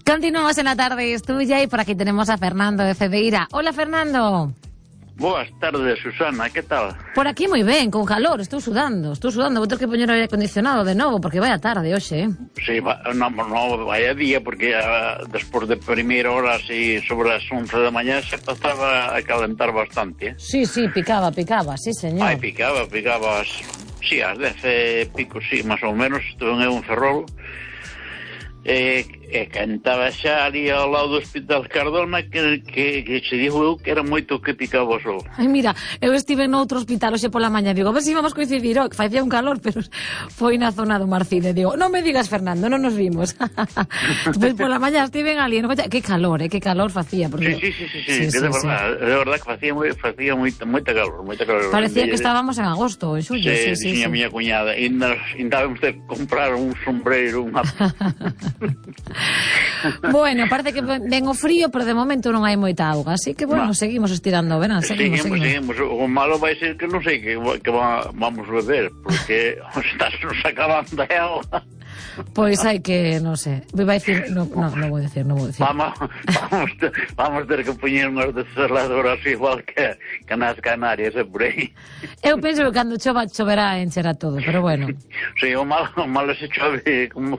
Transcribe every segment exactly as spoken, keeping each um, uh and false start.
Continuamos en la tarde, es tuya, y por aquí tenemos a Fernando de Cedeira. Hola, Fernando. Boas tardes, Susana, que tal? Por aquí moi ben, con calor, estou sudando, estou sudando, vou ter que poñer o aire acondicionado de novo, porque vai a tarde hoxe, eh? Sí, va, no, no, vai a día, porque uh, despois de primeira hora, así, sobre as once da mañá, se pasaba a calentar bastante, eh? Sí, sí, picaba, picaba, sí, señor. Ai, picaba, picaba, as, sí, as dez e pico, sí, máis ou menos, estuve en un ferrol, e, e cantaba xa ali ao lado do Hospital Cardona que, que, que se dijo eu que era moito que picaba o sol. Ai, mira, eu estive noutro hospital hoxe pola mañá, digo, a ver se íbamos coincidir, oh, que facía un calor, pero foi na zona do Marcide, digo, non me digas, Fernando, non nos vimos. Despois pola mañá estiven ali, no coche, que calor, eh, que calor facía. Porque... Sí, sí, sí, sí, sí, sí, sí, de, sí, verdad, sí. de verdad que facía, moi, facía moita, moita calor, moita calor. Parecía de, que estábamos en agosto, en xullo. Sí, sí, sí, sí, sí. A miña cuñada, e indábamos de comprar un sombreiro, unha... Bueno, parece que ven o frío, pero de momento non hai moita auga, así que, bueno, no. seguimos estirando o verán, seguimos, seguimos, seguimos. seguimos. O malo vai ser que non sei que, que va, vamos beber, porque estás nos acabando de auga. Pois hai que, non sei, vai dicir, non no, no vou dicir, non vou dicir. Vamos, vamos, ter, vamos ter que poñer unhas desaladoras igual que, que nas Canarias, e por aí. Eu penso que cando chova, choverá encherá todo, pero bueno. Sí, o malo, o malo se chove como...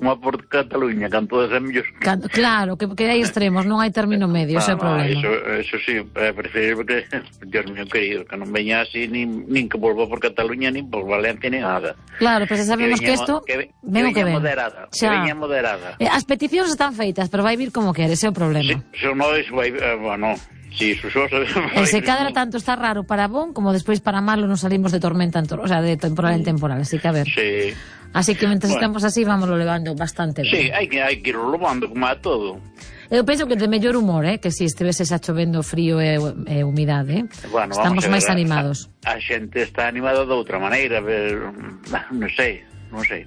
como por Cataluña, canto de semillos. Canto, claro, que, que hai extremos, non hai término medio, ese é o problema. Eso, eso sí, é preferible que, Dios mío querido, que non veña así, nin, nin que volva por Cataluña, nin por Valencia, nin nada. Claro, pero se sabemos que isto, que, ven o que ven. Moderada, que veña moderada. Eh, as peticións están feitas, pero vai vir como quere, ese é o problema. Sí, se non, vai, eh, bueno... Sí, su sosa, e se cada tanto está raro para bon, como despois para malo nos salimos de tormenta, en tor o sea, de temporal en temporal, así que a ver. Sí. Así que mentre bueno. estamos así, vámoslo levando bastante ben. Sí, hai que, hai que irlo levando como a todo. Eu penso que de mellor humor, eh, que si estivese xa chovendo frío e, e humidade, eh? Bueno, estamos máis a, animados. A, a xente está animada de outra maneira, ver, non sei, non sei,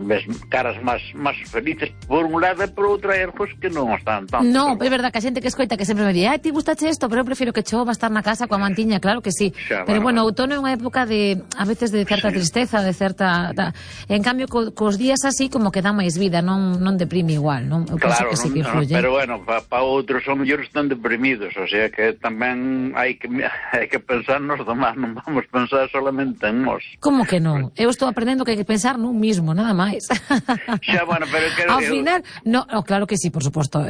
ves caras máis máis felices por un lado e por outra é pues, que non están tanto. No, pero... é verdad que a xente que escoita que sempre me di, ai, ti gustache isto, pero eu prefiro que chova, estar na casa coa mantiña, claro que sí. Xa, pero bueno, bueno, outono é unha época de, a veces de certa sí. tristeza, de certa... Da... En cambio, co, cos días así como que dá máis vida, non non deprime igual, non? Eu claro, penso que sí que influye. Pero bueno, para pa outros son mellores están deprimidos, o sea que tamén hai que hai que pensar nos demás, non vamos pensar solamente en nós. Como que non? Eu estou aprendendo que hai que pensar nun mismo, nada máis. Xa, bueno, pero que ao final, no, no, claro que sí, por suposto,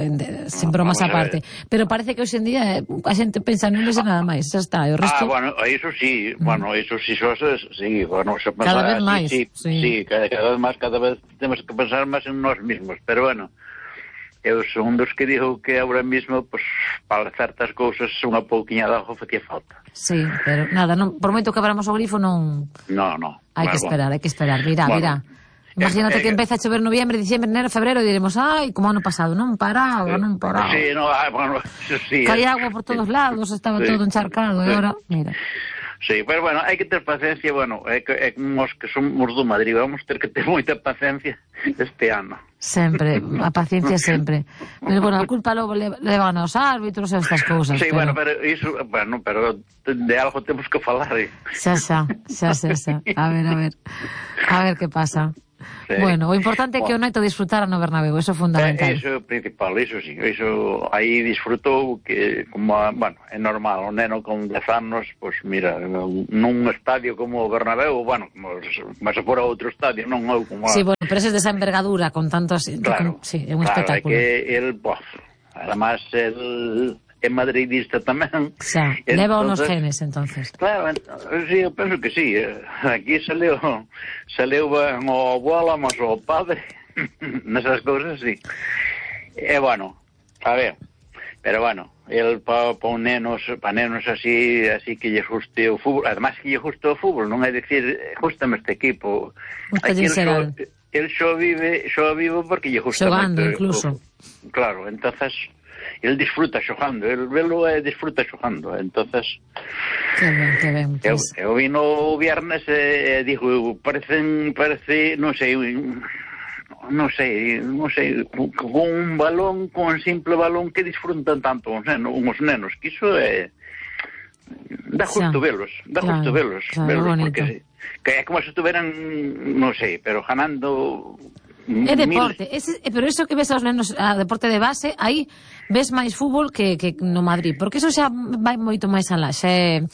sin bromas aparte, pero parece que hoxe en día a xente pensa non vese nada máis, xa está, e o resto... Ah, bueno, eso sí, mm. bueno, eso sí, eso sí, bueno, se pensa, cada vez máis, sí, sí, sí cada, cada vez máis, cada vez temos que pensar máis en nós mismos, pero bueno, eu son dos que digo que agora mismo, pues, para certas cousas unha pouquiña de algo facía falta. Sí, pero nada, non, por moito que abramos o grifo non... No, no. Hai bueno, que esperar, hai que esperar, mira, bueno. mira... Imagínate eh, que empeza a chover noviembre, diciembre, enero, febrero e diremos, ai, como ano pasado, non paraba, non paraba. Sí, no, ah, bueno, sí. Caía agua por todos lados, estaba sí. todo encharcado, e agora, mira. Sí, pero bueno, hai que ter paciencia, bueno, é que, é que nós que somos do Madrid, vamos ter que ter moita paciencia este ano. Sempre, a paciencia sempre. Pero bueno, a culpa logo levan aos árbitros e estas cousas. Sí, pero... bueno, pero iso, bueno, pero de algo temos que falar. Eh? Xa, xa, xa, xa, xa. A ver, a ver. A ver que pasa. Sí. Bueno, o importante é que o neto disfrutara no Bernabéu, eso é fundamental. Eh, eso é o principal, eso sí, eso aí disfrutou que, como, bueno, é normal, o neno con dez anos, pois pues, mira, nun estadio como o Bernabéu, bueno, como, mas se fora outro estadio, non eu como... Sí, bueno, pero ese de esa envergadura, con tantos... Claro, con, sí, é un claro, espectáculo. É que el, pues, además, el... é madridista tamén. Xa, leva unos genes, entonces. Claro, sí, eu penso que sí. Aquí saleu, saleu o abuelo, mas o padre, nesas cousas, sí. E, bueno, a ver, pero, bueno, el pa, pa un nenos, pa nenos así, así que lle guste o fútbol, además que lle guste o fútbol, non é dicir, gustame este equipo. Aquí el xo, el xo vive, xo vive porque lle gusta xogando, moito, incluso. O, claro, entonces... el disfruta xogando, el velo é disfruta xogando, entonces que ben, que ben, pues... eu, eu vino o viernes e, e digo, parecen, parece, non sei non sei, non sei con un balón, con un simple balón que disfrutan tanto os nenos, uns nenos, que iso é dá justo velos, dá claro, justo velos, claro, velos bonito. Porque que é como se estuveran, non sei, pero ganando É deporte, ese, pero eso que ves aos nenos a deporte de base, aí ves máis fútbol que, que no Madrid, porque eso xa vai moito máis alá, xa é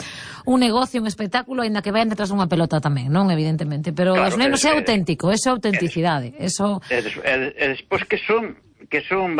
un negocio, un espectáculo, aínda que vayan detrás dunha pelota tamén, non, evidentemente, pero claro, os nenos é, é auténtico, eso é autenticidade, eso... E, des, e, e despois que son, que son